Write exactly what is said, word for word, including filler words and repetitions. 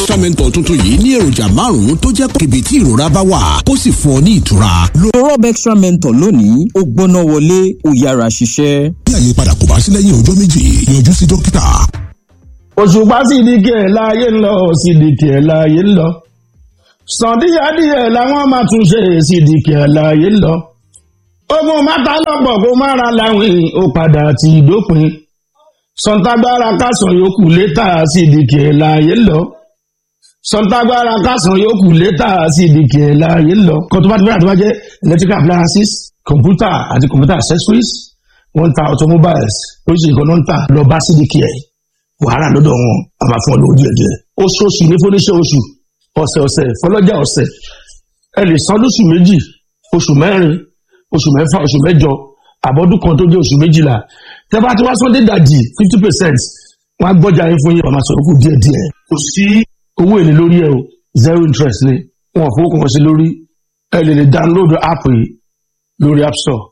Extra tuntun yìí ní èròjà márùn-ún tó jẹ́ kébé tí ìrora bá wà kó sì fún ọ ní ìtura. Lo Rob Extra Mentor lónìí, ó gbóná wọlé, ó yára ṣiṣẹ́. Bí àyípadà kò bá sí lẹ́yìn ọjọ́ méjì, yọjú sí dókítà. Òṣùpá Sídìkì ẹ̀ láàyè ń lọ, Sídìkì ẹ̀ láàyè ń lọ. Sàn díẹ̀díẹ̀ làwọn máa tún ṣe, Sídìkì ẹ̀ láàyè ń lọ. Ogun mátà lọ́pọ̀ kó má ra láwìn, ó padà ti dópin. Sọ̀ǹtàgbára kásán yòókù létà, Sídìkì ẹ̀ láàyè ń lọ. Sọ̀ǹtàgbára kásán yòókù létà, Sídìkì ẹ̀ láàyè ń lọ. Kó tó bá ti bẹ̀rẹ̀, tó bá jẹ́ electrical appliances, computer àti computer accessories, wọ́n ń ta automobiles, oríṣiríṣi nǹkan ló ń tà. Lọ bá Sídìkì ẹ̀, wàhálà lọ́dọ̀ wọn, a máa fún ọ lówó díẹ̀ díẹ̀. Oṣooṣù ní fúnníṣẹ́ oṣù, ọ̀sẹ̀ ọ̀sẹ̀ fọlọ́jà ọ̀sẹ̀. Ẹ lè san lóṣù méjì, oṣù mẹ́rin, oṣù mẹ́fà, oṣù mẹ́jọ, àbọ̀dún kan tó jẹ́ oṣù méjìlá. Tẹ́ bá ti wá sọ́dé dàjì fifty percent, wọ́n á gbọ́jà yín fún yín, wọ́n máa sọ̀rọ̀ kù díẹ̀ díẹ̀. Kò sí owó èlé lórí ẹ o, zero interest ni. Wọn ò fowó kan sí lórí. Ẹ lè lè download app yìí lórí App Store.